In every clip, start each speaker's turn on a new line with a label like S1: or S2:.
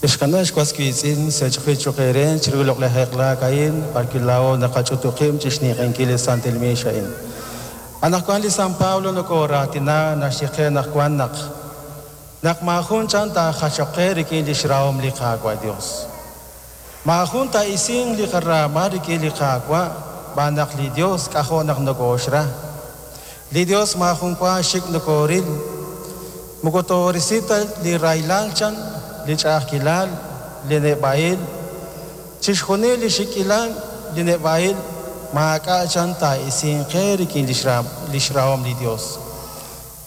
S1: Ex qana', ex was wiitz'in, sech'qil cho'q eere chiru li loq'laj eq'laak a'in, b'arwi' laa'o naqach'utub' qib' chi xninq'ehinkil li santil miix a'in. Anaqwan li San Pablo nokooraatina, naxye qe anaqwan naq naq maajun chan taajachoq qe rik'in lix rahom li Qaawa' Dios. Maajun taa'isinq li qaraama rik'in li Qaawa' xb'aan naq li Dios k'ajo' naq nokooxra. Li Dios maajun wa xik' nokooril. Moko toorisi ta li rahilal chan, li ch'a'ajkilal, li neb'a'il. Chixjunil li xik'ilal, li neb'a'il, maak'a' chan taa'isinq qe rik'in lix rahom li Dios.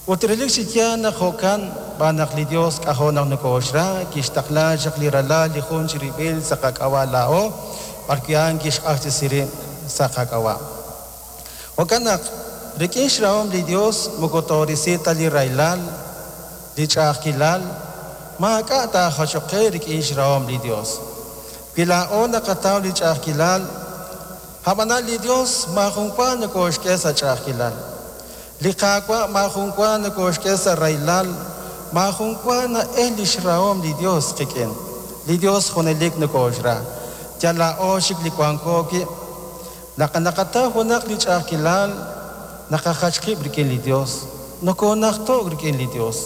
S1: Ut relik chi yaal naq jo'kan, xb'aan naq li Dios k'ajo' naq nokooxra, kixtaqla chaq li Ralal li jun chirib'il sa' qak'ab'a' laa'o, b'arwi' a'an kixq'axtesi rib' sa' qak'ab'a'. Jo'kan naq, rik'in xrahom li Dios moko toorisi ta li rahilal, li ch'a'ajkilal, maak'a' taajachoq qe rik'in xrahom li Dios. Wi laa'o naqataw li ch'a'ajkilal, a'b'anan li Dios maajun wa nokooxk'e sa' ch'a'ajkilal. Li Qaawa' maajun wa nokooxk'e sa' rahilal, maajun wa na'el lix rahom li Dios qik'in. Li Dios junelik nokooxra. Yal laa'o xik li wanko wi'. Naq naqataw junaq li ch'a'ajkilal, naqajach qib' rik'in li Dios, nokoonajto'k rik'in li Dios.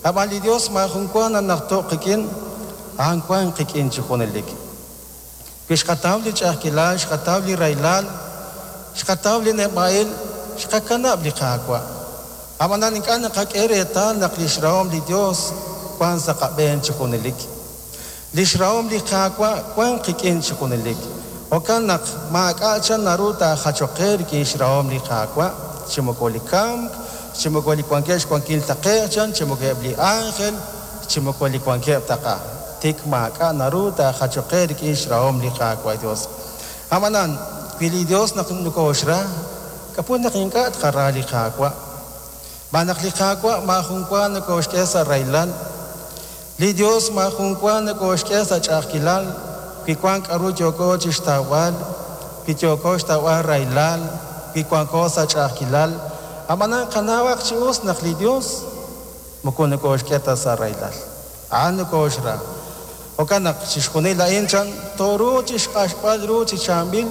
S1: Ab'an li Dios maajun wa nanajto'k qik'in, a'an wank qik'in chi junelik. Wi xqataw li ch'a'ajkilal, xqataw li rahilal, xqataw li neb'a'il, xqakanab' li Qaawa'. Ab'anan ink'a' naqak'e reetal naq lix rahom li Dios wank sa' qab'een chi junelik. Lix rahom li Qaawa' wank qik'in chi junelik. Jo'kan naq maak'a' chan naru taajachoq qe rik'in xrahom li Qaawa', chi moko li kamk, chi moko li wankeb' xwankil taqe'q chan, chi moko eb' li ánjel, chi moko li wankeb' taq'a. Tik maak'a' naru taajachoq qe rik'in xrahom li Qaawa' Yos. Ab'anan, wi li Yos naq nokooxra, k'a'ut naq ink'a' tqara li Qaawa'? Xb'aan naq li Qaawa' maajun wa nokooxk'e sa' rahilal. Li Yos maajun wa nokooxk'e sa' ch'a'ajkilal wi wank k'aru yooko chi xtawb'al, wi yooko xtawb'al rahilal, wi wanko sa' ch'a'ajkilal. Ab'anan qanawaq chi us naq li Yos moko nokooxk'e ta sa' rahilal. A'an nokooxra. Jo'kan naq chixjunil a'in chan tooruuq chi xq'axb'al ru chi chaab'il.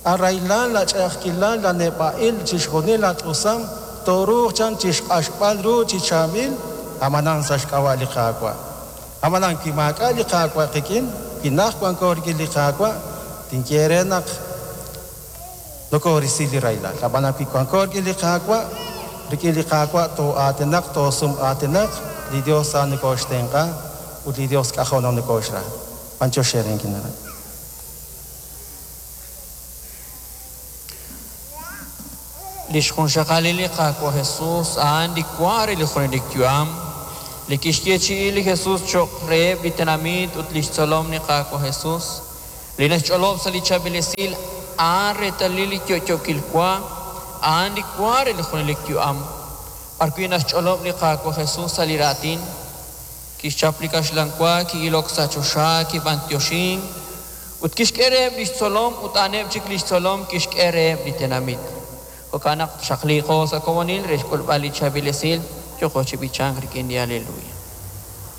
S1: A rahilal, a ch'a'ajkilal, a neb'a'il, chixjunil a t'usam, tooruuq chan chi xq'axb'al ru chi chaab'il, ab'anan sa' xk'ab'a' li Qaawa'. Ab'anan wi maak'a' li Qaawa' qik'in, wi najt wanko rik'in li Qaawa', tinye eere naq nokoorisi li rahilal. Ab'anan wi wanko rik'in li Qaawa', rik'in li Qaawa' too'aatinaq, toosum'aatinaq, li Yos a'an nokooxtenq'a ut li Yos k'ajo' naq nokooxra. B'anyox eere inkina'leb'.
S2: Li xjunxaqalil li Qaawa' Jesús a'an li wa re li junelik yu'am, li kixyeechi'i li Jesús cho'q reheb' li tenamit ut li xtzolom li Qaawa' Jesús, li naxch'olob' sa' li Chaab'il Esil a'an reetalil li yo'yookil wa, a'an li wa re li junelik yu'am, b'arwi' naxch'olob' li Qaawa' Jesús sa' li raatin, Kixchap li kaxlan wa, ki'ilok sa' choxa, kib'anyoxink, ut kixk'e reheb' li xtzolom ut a'aneb' chik li xtzolom kixk'e reheb' li tenamit. Jo'kan naq xaqliiqo sa' komonil re xk'ulb'al li chaab'il esil, yooqo chi b'ichank rik'in li Aleluya.